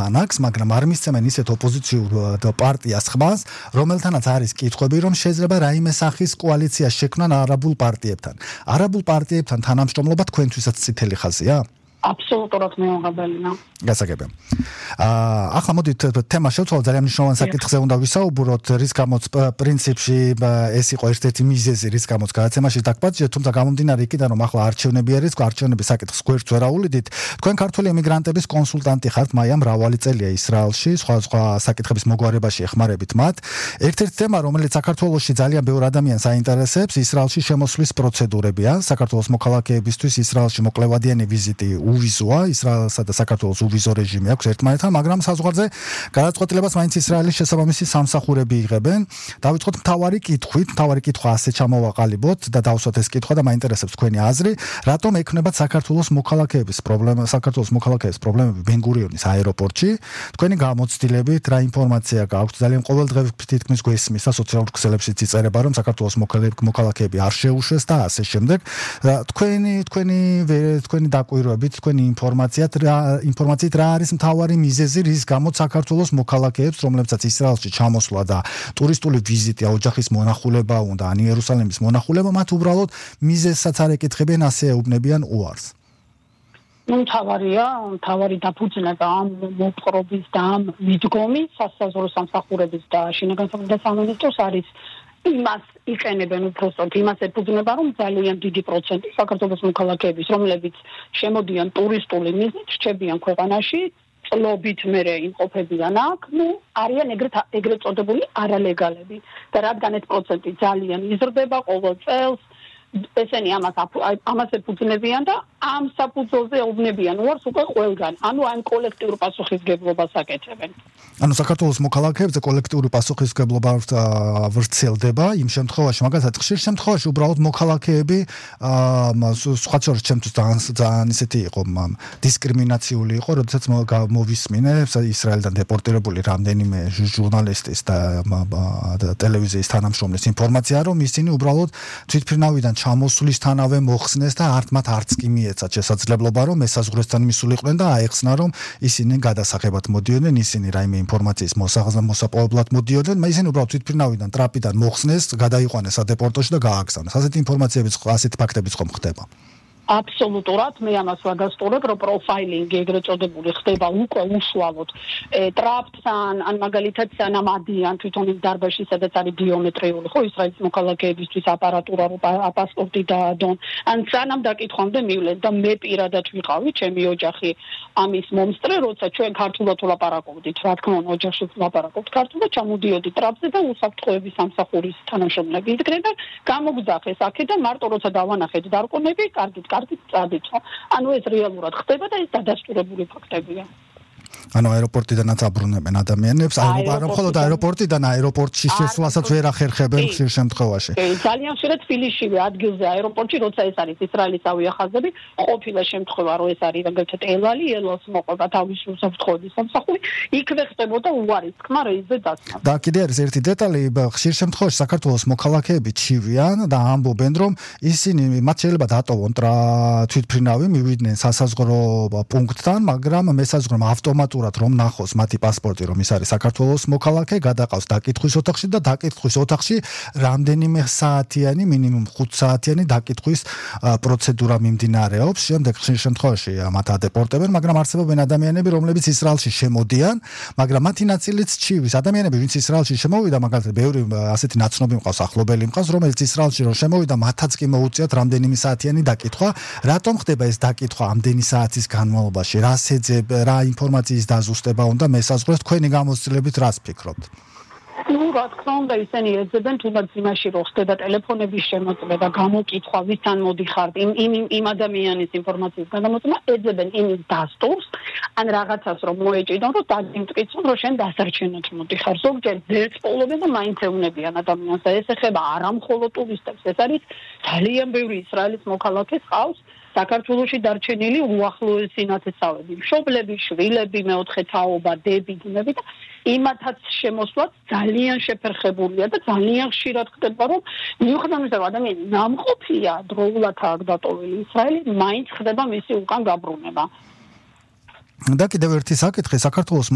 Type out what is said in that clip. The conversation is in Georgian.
ბანაკს, მაგრამ არ მისცემენ ისეთ ოპოზიციურ პარტიას ხმას, რომელთანაც არის კითხვები, რომ შეიძლება რაიმე სახის კოალიცია შექმნან არაბულ პარტიებთან. არაბულ პარტიებთან თანამშრომლობა თქვენთვისაც წითელი ხაზია? Absolutურად მეუღებელია. გასაგებია. ახლა მოდით თემა შევცვალოთ, ძალიან მნიშვნელოვანი საკითხზე უნდა ვისაუბროთ, რის გამოც პრინციპში ეს იყო ერთ-ერთი მიზეზი, რის გამოც გადაცემაში დაგპატიჟეთ, თუმცა გამომდინარე იქიდან, რომ ახლა არჩევნები არის, არჩევნების საკითხს გვერდს ვერ აუვლიდით. თქვენ ქართული ემიგრანტების კონსულტანტი ხართ, მაია მრავალი წელია ისრაელში, სხვა საკითხების მოგვარებაში ეხმარებით მათ. ერთ-ერთი თემა, რომელიც საქართველოში ძალიან ბევრ ადამიანს აინტერესებს, ისრაელში შემოსვლის პროცედურებია. საქართველოს მოქალაქეებისთვის ისრაელში მოკლევადიანი ვიზიტი უვიზოა, ისრაელსა და საქართველოს უვიზო რეჟიმი აქვს ერთმანეთთან, მაგრამ საზღვარზე გადაწყვეტილებას მაინც ისრაელის შესაბამისი სამსახურები იღებენ. დავიწყოთ მთავარი კითხვით, მთავარი კითხვა ასე ჩამოვაყალიბოთ და დავსვათ ეს კითხვა და მაინტერესებს თქვენი აზრი, რატომ ექნებათ საქართველოს მოქალაქეების პრობლემები ბენ-გურიონის აეროპორტში? თქვენი გამოცდილებით რა ინფორმაცია გააქვთ? ძალიან ყოველდღე თითქმის გვესმის და სოციალურ ქსელებშიც იწერება, რომ საქართველოს მოქალაქეები არ შეუშვეს და ასე შემდეგ. თქვენი დაკვირვებით, თქვენი ინფორმაციით რა არის მთავარი მიზეზი, რის გამოც საქართველოს მოქალაქეებს, რომლებსაც ისრაელში ჩამოსვლა და ტურისტული ვიზიტი, ოჯახის მონახულება უნდა, ან იერუსალიმის მონახულება, მათ უბრალოდ მიზეზსაც არ ეკითხებიან, ასე ეუბნებიან უარს. მთავარი დაფუძნება ამ მოპყრობის და ამ მიდგომის სასაზღვრო სამსახურების და შინაგან საქმეთა სამინისტროს არის იმას იყენებენ უბრალოდ იმას ეფუძნება, რომ ძალიან დიდი პროცენტი საქართველოს მოქალაქეების, რომლებიც შემოდიან ტურისტული მიზნით, რჩებიან ქვეყანაში, წლობით მერე იმყოფებიან აქ, არიან ეგრეთ წოდებული არალეგალები. და რადგან ეს პროცენტი ძალიან იზრდება ყოველ წელს, ესენი ამას ეფუძნებიან და ამ საფუძველზე ეუბნებიან უარს უკვე ყველგან. ანუ ამ კოლექტიურ პასუხისმგებლობას აკეთებენ. ანუ საქართველოს მოქალაქეებზე კოლექტიური პასუხისმგებლობა ვრცელდება იმ შემთხვევაში, მაგალითად ხშირ შემთხვევაში უბრალოდ მოქალაქეები სხვა შორის ჩემთვის ძალიან ისეთი იყო დისკრიმინაციული იყო, როდესაც მოვისმინე ისრაელიდან დეპორტირებული რამდენიმე ჟურნალისტის და ტელევიზიის თანამშრომლის ინფორმაცია, რომ ისინი უბრალოდ თვითმფრინავიდან ჩამოსვლისთანავე მოხსნეს და მათ არც კი მიეცათ შესაძლებლობა, რომ ესაზღვრესთან მისულიყვნენ და აეხსნა, რომ ისინი გადასახებად მოდიოდნენ, ისინი რაიმე ინფორმაციის მოსაპოვებლად მოდიოდნენ, ისინი უბრალოდ თვითმფრინავიდან ტრაპიდან მოხსნეს, გადაიყვანეს სადეპორტოში და გააგზავნეს. ასეთი ინფორმაციებიც, ასეთი ფაქტებიც ხომ ხდება? Absolutურად, მე ამას ვადასტურებ, რომ პროფაილინგი ეგრეთ წოდებული ხდება უკვე უშუალოდ ტრაპთან, ან მაგალითად სანამ ადიან თვითონ იმ დარბაზში, სადაც არის ბიომეტრიული, ხო, ისრაელის მოქალაქეებისთვის აპარატურა, პასპორტი დაადონ, ან სანამ დაკითხვამდე მივლენ და მე პირადად ვიყავი, ჩემი ოჯახი ამის მომსწრე, როცა ჩვენ ქართულად ვლაპარაკობდით, რა თქმა უნდა, ოჯახში ვლაპარაკობთ ქართულად, ჩამოდიოდი ტრაპზე და უსაფრთხოების სამსახურის თანამშრომლები იდგნენ და გამოგზავნეს აქედან, მარტო როცა დავანახეთ დარკონები, კარგით წადით. ანუ ეს რეალურად ხდება და ეს დადასტურებული ფაქტებია. ანუ აეროპორტიდანაც აბრუნებენ ადამიანებს, მხოლოდ აეროპორტიდან აეროპორტში შესვლასაც ვერ ახერხებენ ხშირ შემთხვევაში. ძალიან ხშირად თბილისშივე ადგილზე აეროპორტში, როცა ეს არის ისრაელის ავიახაზები, ყოფილა შემთხვევა, რომ ეს არის მაგალითად ელალს მოყვება თავის უსაფრთხოების სამსახური, იქვე ხდებოდა უარის თქმა რეისზე დასმა. და კიდე არის ერთი დეტალი, ხშირ შემთხვევაში საქართველოს მოქალაქეები ჩივიან და ამბობენ, რომ ისინი მათ შეიძლება დატოვონ თვითმფრინავი, მივიდნენ სასაზღვრო პუნქტთან, მაგრამ მესაზღვრემ ავტომატურად რომ ნახოს მათი პასპორტი, რომ ის არის საქართველოს მოქალაქე, გადაყავს დაკითხვის ოთახში და დაკითხვის ოთახში რამდენიმე საათიანი, მინიმუმ 5 საათიანი დაკითხვის პროცედურა მიმდინარეობს. შემდეგ ხშირ შემთხვევაში მათ ადეპორტებენ, მაგრამ არსებობენ ადამიანები, რომლებიც ისრაელში შემოდიან, მაგრამ მათი ნაწილიც ჩივის. ადამიანები, ვინც ისრაელში შემოვიდა, მაგალითად, ბევრი ასეთი ნაცნობი მყავს, ახლობელი მყავს, რომელიც ისრაელში რომ შემოვიდა, მათაც კი მოუწიათ რამდენიმე საათიანი დაკითხვა. რატომ ხდება ეს დაკითხვა ამდენი საათის განმავლობაში? რას ეძებ, რა ინფორმაციის დაზუსტება უნდა მესაზღვრეს, თქვენი გამოცდილებით რას ფიქრობთ? რა თქმა უნდა, ისინი ეძებენ თუნდაც იმაში, რომ ხდება ტელეფონების შემოწმება, გამოკითხვა, ვისთან მოდიხართ, იმ ადამიანის ინფორმაციის გადამოწმება, ეძებენ იმის დასტურს, ან რაღაცას რომ მოეჭიდონ, რომ დაგიმტკიცონ, რომ შენ დასარჩენად მოდიხარ. ზოგჯერ ძერც პოულობენ და მაინც ეუბნებიან ადამიანს და ეს ეხება არა მხოლოდ ტურისტებს, ეს არის ძალიან ბევრი ისრაელის მოქალაქე ყავს საქართველოში დარჩენილი უახლოესი ნათესავები, მშობლები, შვილები, მეოთხე თაობა, დები, ძმები და იმათაც შემოსვლაც ძალიან შეფერხებულია და ძალიან ხშირად ხდება, რომ მიუხედავად იმისა, რომ ადამიანი ნამყოფია დროულად აქ დატოვილი ისრაელი, მაინც ხდება მისი უკან გაბრუნება. და კიდევ ერთი საკითხი, საქართველოს